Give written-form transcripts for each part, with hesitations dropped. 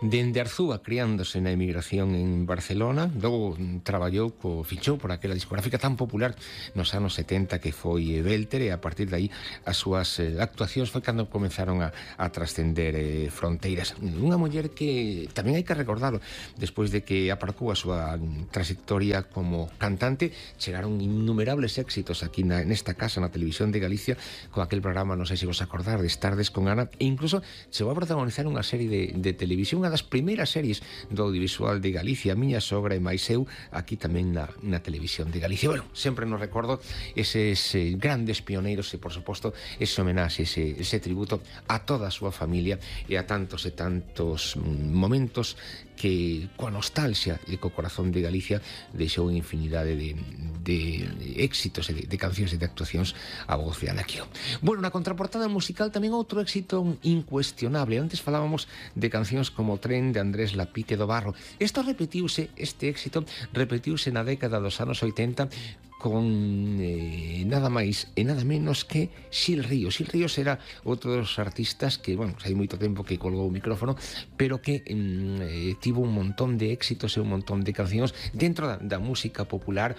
Dende Arzúa, criándose na emigración en Barcelona, logo fichou por aquela discográfica tan popular nos anos 70 que foi Belter, e a partir de aí as súas actuacións foi cando comenzaron a trascender fronteiras. Unha muller que tamén hai que recordarlo, despois de que aparcou a súa trayectoria como cantante, chegaron innumerables éxitos aquí nesta casa, na televisión de Galicia, con aquel programa, non sei se vos acordar, de Tardes con Ana, e incluso chegou a protagonizar unha serie de televisión, unha das primeiras series do audiovisual de Galicia, Miña Sogra e máis eu, aquí tamén na televisión de Galicia. Bueno, sempre nos recordo eses grandes pioneiros e, por suposto, ese homenaxe, ese tributo a toda a súa familia e a tantos e tantos momentos que coa nostalgia e co corazón de Galicia deixou infinidade de éxitos e de cancións e de actuacións a voz de Ana Quio. Bueno, na contraportada musical tamén outro éxito incuestionable. Antes falábamos de cancións como Tren, de Andrés Lapite do Barro. Este éxito repetiuse na década dos anos 80 con nada máis e nada menos que Xil Ríos. Xil Ríos era outro dos artistas que, bueno, hai moito tempo que colgou o micrófono, pero que tivo un montón de éxitos e un montón de cancións dentro da música popular,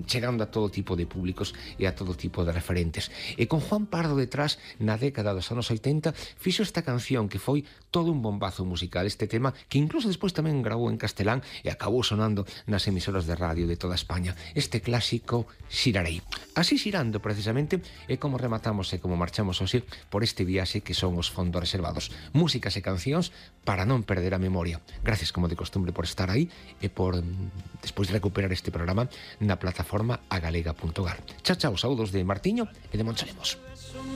chegando a todo tipo de públicos e a todo tipo de referentes. E con Juan Pardo detrás, na década dos anos 80, fixo esta canción que foi todo un bombazo musical, este tema que incluso despois tamén grabou en castelán e acabou sonando nas emisoras de radio de toda España. Este clásico Xirarei. Así xirando, precisamente, é como rematamos e como marchamos hoxe por este viaxe que son os fondos reservados. Músicas e cancións para non perder a memoria. Gracias, como de costumbre, por estar aí e por, despois de recuperar este programa na plataforma agalega.gal. Chao, chao, saúdos de Martiño e de Monchalemos.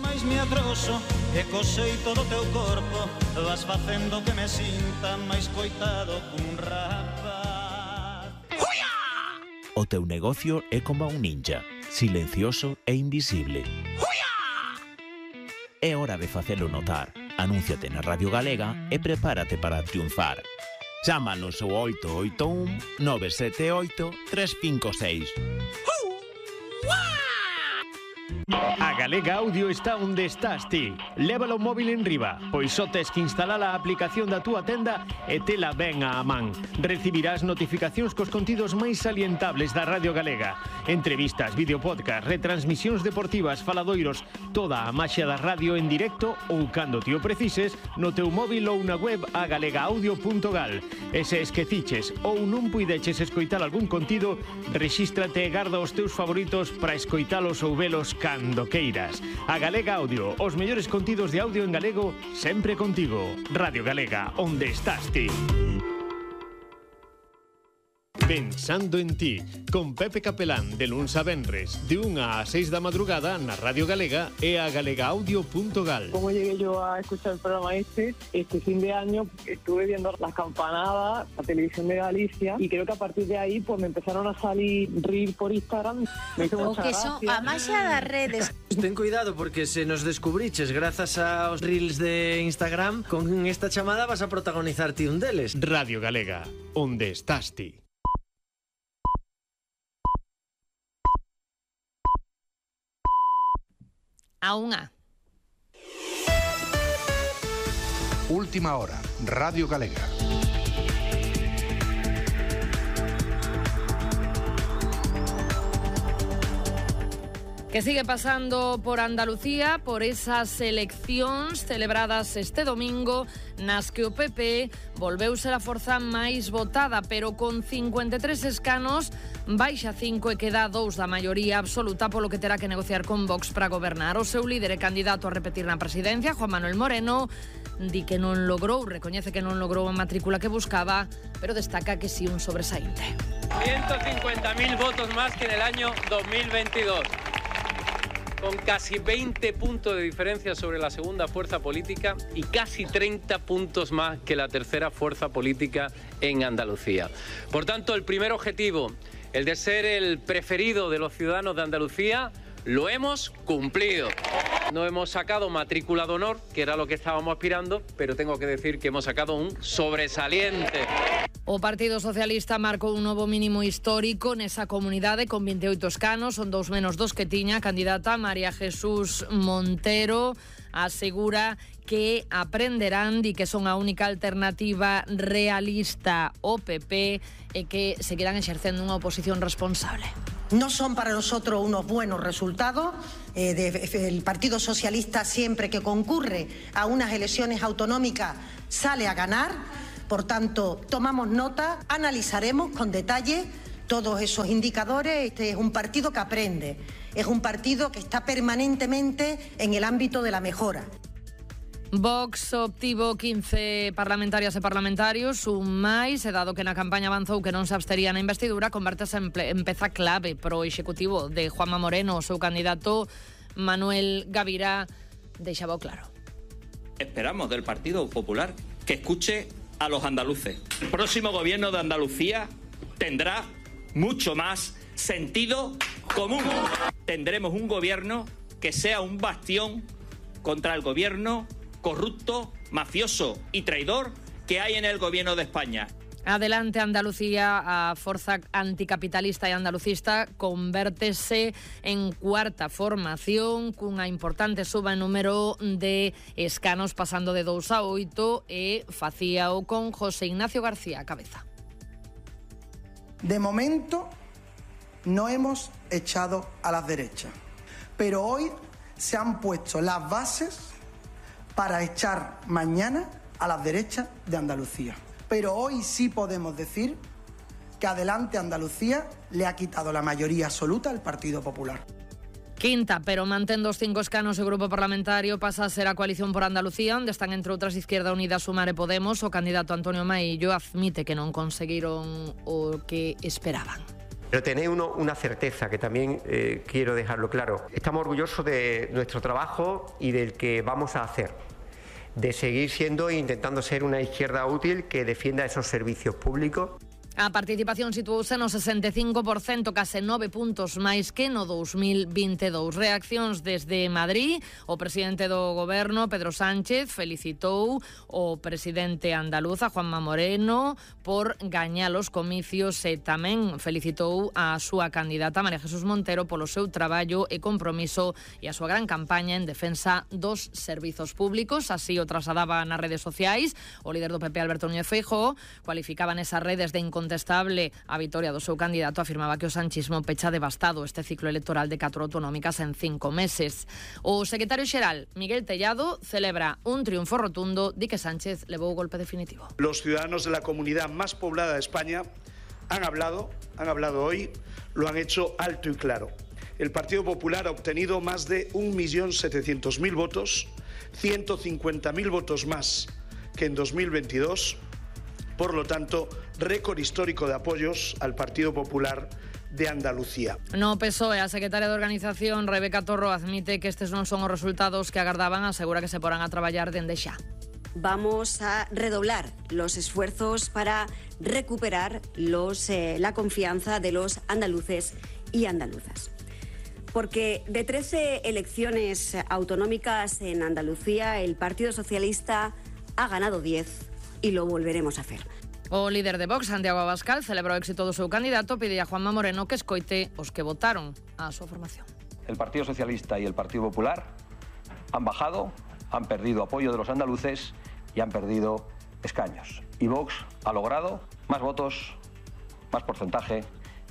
Mais me atroso e cosei todo o teu corpo, vas facendo que me sinta máis coitado cun rapaz. O teu negocio é como un ninja, silencioso e invisible. É hora de facelo notar. Anúnciate na Radio Galega e prepárate para triunfar. Chámanos ao 881 978 356. A Galega Audio está onde estás ti. Lévalo o móvil en riba, pois só tes que instalar a aplicación da túa tenda e tela ben á man. Recibirás notificacións cos contidos máis salientables da Radio Galega. Entrevistas, videopodcast, retransmisións deportivas, faladoiros, toda a maxia da radio en directo ou cando ti o precises no teu móvil ou na web agalegaudio.gal. E se esqueciches ou non puideches escoitar algún contido, rexístrate e garda os teus favoritos para escoitalos ou velos cando queiras. A Galega Audio, os mellores contidos de audio en galego, sempre contigo. Radio Galega, onde estás ti. Pensando en ti, con Pepe Capelán, de luns a venres, de 1 a 6 da madrugada na Radio Galega e a galegaudio.gal. Como llegué yo a escuchar el programa este fin de año estuve viendo las campanadas, la televisión de Galicia, y creo que a partir de ahí pues me empezaron a salir reels por Instagram. Me hizo mucha gracia. A maxia das redes. Ten cuidado porque se nos descubriches grazas aos reels de Instagram, con esta chamada vas a protagonizar ti un deles. Radio Galega, onde estás ti. A unha. Última hora, Radio Galega. Que sigue pasando por Andalucía, por esas eleccións celebradas este domingo, nas que o PP volveu ser a forza máis votada, pero con 53 escanos, baixa 5 e queda 2 da maioría absoluta, polo que terá que negociar con Vox para gobernar. O seu líder e candidato a repetir na presidencia, Juan Manuel Moreno, di que non logrou, recoñece que non logrou a matrícula que buscaba, pero destaca que sí un sobresaínte. 150.000 votos más que en el año 2022. Con casi 20 puntos de diferencia sobre la segunda fuerza política y casi 30 puntos más que la tercera fuerza política en Andalucía. Por tanto, el primer objetivo, el de ser el preferido de los ciudadanos de Andalucía, lo hemos cumplido. No hemos sacado matrícula de honor, que era lo que estábamos aspirando, pero tengo que decir que hemos sacado un sobresaliente. O Partido Socialista marcou un novo mínimo histórico nesa comunidade con 28 escanos, son 2 menos dos que tiña a candidata María Jesús Montero. Asegura que aprenderán e que son a única alternativa realista ao PP e que seguirán exercendo unha oposición responsable. No son para nosotros unos buenos resultados. El Partido Socialista siempre que concurre a unas elecciones autonómicas sale a ganar. Por tanto, tomamos nota, analizaremos con detalle todos esos indicadores. Este es un partido que aprende, es un partido que está permanentemente en el ámbito de la mejora. Vox obtivo 15 parlamentarias e parlamentarios, un máis, e dado que na campaña avanzou que non se abstería na investidura, convertese en peza clave pro executivo de Juanma Moreno. O seu candidato Manuel Gavirá deixaba claro. Esperamos del Partido Popular que escuche a los andaluces. El próximo gobierno de Andalucía tendrá mucho más sentido común. Tendremos un gobierno que sea un bastión contra el gobierno corrupto, mafioso y traidor que hay en el gobierno de España. Adelante Andalucía, a forza anticapitalista e andalucista, convértese en cuarta formación cunha importante suba en número de escanos, pasando de 2 a 8, e facíao con José Ignacio García a cabeza. De momento no hemos echado a las derechas, pero hoy se han puesto las bases para echar mañana a las derechas de Andalucía. Pero hoy sí podemos decir que Adelante Andalucía le ha quitado la mayoría absoluta al Partido Popular. Quinta, pero mantén dos 5 escanos o grupo parlamentario, pasa a ser a Coalición por Andalucía, onde están entre outras Izquierda Unida, Sumar e Podemos. O candidato Antonio Maillo admite que non conseguiron o que esperaban. Pero tenéis una certeza que también quiero dejarlo claro. Estamos orgullosos de nuestro trabajo y del que vamos a hacer, de seguir siendo e intentando ser una izquierda útil que defienda esos servicios públicos. A participación situouse no 65%, case 9 puntos máis que no 2022. Reaccións desde Madrid. O presidente do goberno, Pedro Sánchez, felicitou o presidente andaluz, Juanma Moreno, por gañar os comicios e tamén felicitou a súa candidata, María Jesús Montero, polo seu traballo e compromiso e a súa gran campaña en defensa dos servizos públicos. Así o trasladaba nas redes sociais. O líder do PP, Alberto Núñez Feijóo, cualificaba nesas redes de incontestable a vitoria do seu candidato, afirmaba que o sanchismo pecha devastado este ciclo electoral de 4 autonómicas en 5 meses. O secretario xeral, Miguel Tellado, celebra un triunfo rotundo, di que Sánchez levou o golpe definitivo. Los ciudadanos de la comunidad más poblada de España han hablado hoy, lo han hecho alto y claro. El Partido Popular ha obtenido más de 1.700.000 votos, 150.000 votos más que en 2022. Por lo tanto, récord histórico de apoyos al Partido Popular de Andalucía. No PSOE, a secretaria de Organización, Rebeca Torro, admite que estes non son os resultados que agardaban, asegura que se porán a traballar dende xa. Vamos a redoblar los esfuerzos para recuperar la confianza de los andaluces y andaluzas. Porque de 13 elecciones autonómicas en Andalucía, el Partido Socialista ha ganado 10 y lo volveremos a hacer. O líder de Vox, Santiago Abascal, celebrou o éxito do seu candidato, pide a Juanma Moreno que escoite os que votaron a súa formación. El Partido Socialista y el Partido Popular han bajado, han perdido apoyo de los andaluces y han perdido escaños. Y Vox ha logrado más votos, más porcentaje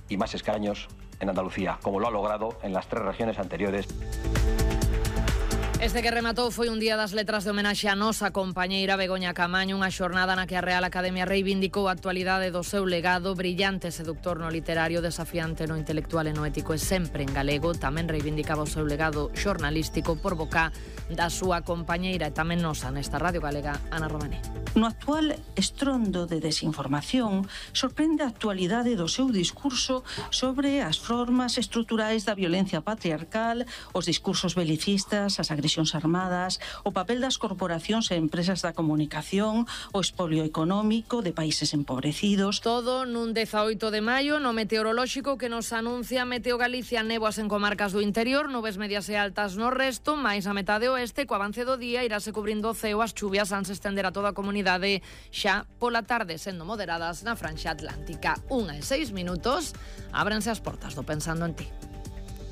y más escaños en Andalucía, como lo ha logrado en las 3 regiones anteriores. Este que rematou foi un día das letras de homenaxe a nosa compañeira Begoña Camaño, unha xornada na que a Real Academia reivindicou a actualidade do seu legado, brillante seductor no literario, desafiante no intelectual e no ético e sempre en galego. Tamén reivindicaba o seu legado xornalístico por boca da súa compañeira e tamén nosa nesta Radio Galega, Ana Romaní. No actual estrondo de desinformación, sorprende a actualidade do seu discurso sobre as formas estruturais da violencia patriarcal, os discursos belicistas, as agresións confesións armadas, o papel das corporacións e empresas da comunicación, o expolio económico de países empobrecidos. Todo nun 18 de maio no meteorolóxico que nos anuncia Meteo Galicia, néboas en comarcas do interior, nubes medias e altas no resto, máis a metade oeste, co avance do día irase cubrindo o ceo, as chuvias han se estender a toda a comunidade xa pola tarde, sendo moderadas na franxa atlántica. 1:06, ábrense as portas do Pensando en Ti.